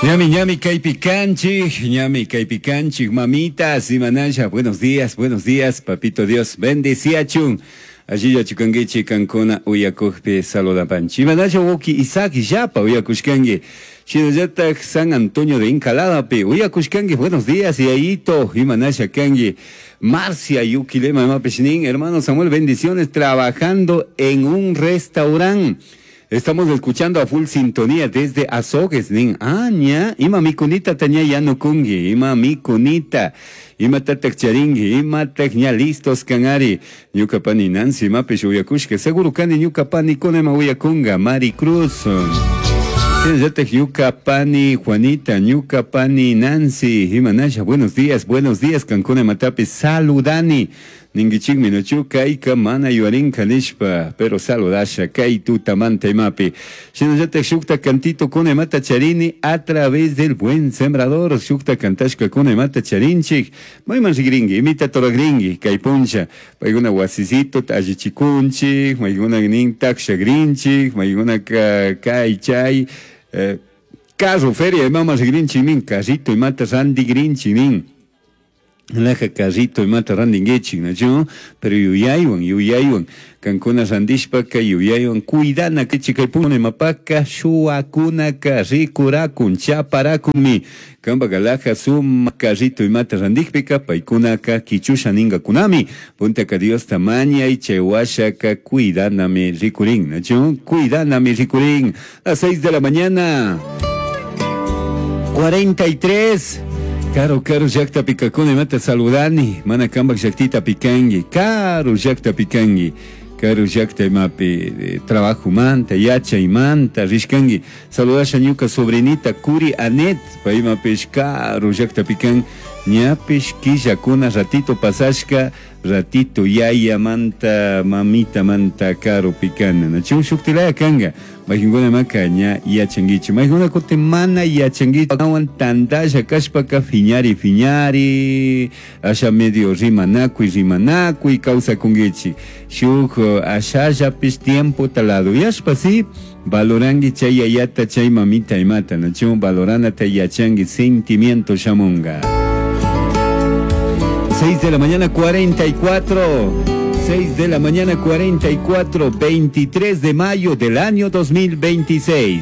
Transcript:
Ñami, ñami kaypi kanchik, ñami kaypi kanchik, mamitas, imanasha, buenos días, papito Dios, bendeciachun. Allilla chukankichik kankuna uyakukpi saludapanchik. Imanasha wawki Isaac llapa uyakushkanki. Shinallatak San Antonio de Encaladapi uyakushkanki, buenos días, yayito, imanasha kanki. Marcia Yuquilema imapish nin, hermano Samuel, bendiciones, trabajando en un restaurante. Estamos escuchando a full sintonía desde Azogues, nin. Ah, ña, ima mikunita taña yanukungi, ima mikunita, ima tatak charingi, ima tak ña listos kanari. Ñuka pani Nancy, imapish uyakushka, seguro kani ñuka pani kuna ima uyakunga, Mari Cruz. Shinallatak ñuka pani Juanita, ñuka pani Nancy, imanasha, buenos días, kankuna imatapish saludani. Ninkichikmi nachu kayka mana yuyarinka nishpa, pero saludasha kay tutamanta imapi. Shinallatak shukta cantito kuna imata charini a través del buen sembrador, shukta cantashka kuna imata charinchik, mayman rigringi, imita toragringi, kay puncha, paykuna wasisito allichikunchik, maykuna nin takshagrinchik, maykuna kay chay, carro feria imama rigrinchik nin, carrito imata randigrinchik nin. Laja carrito imata randinguichik, nachu? Pero yuyaywan, yuyaywan, kankuna randishpaka yuyaywan cuidana kichik kay puncha imapaka shuwakunaka rikurakun, chaparakunmi. Kanpaka laja suma carrito imata randikpika paykunaka kichusha ningakunami. Puntaka Diosta mañay chay washaka cuidanami rikurin, nachu? Cuidanami rikurin. Las 6 de la mañana, 43. Caro, caro llakta pikakuna imata saludani, mana kanpak llaktita pikanki, caro llakta pikanki, caro llakta imapi trabajo manta, yachaymanta rishkanki. Saludasha ñuka sobrinita Curi Anet, paymapish caro llakta pikan, ñapish killakuna ratito pasashka, ratito yayamanta, mamitamanta caro pikana. Nachun shuktilaya kanga. Maykuna maka ña yachankichik. Maykuna kutin mana yachankichik. Awan tantalla kashpaka fiñari, fiñari, asha medio rimanakuy, rimanakuy kawsakunkichik. Shuk ashallapish tiempo taladuyashpa, sí, valoranki chay yayata, chay mamita imata, nachun valoranata yachanki sentimiento shamunga. 6 de la mañana, 44. 6 de la mañana, 44, 23 de mayo del año 2026.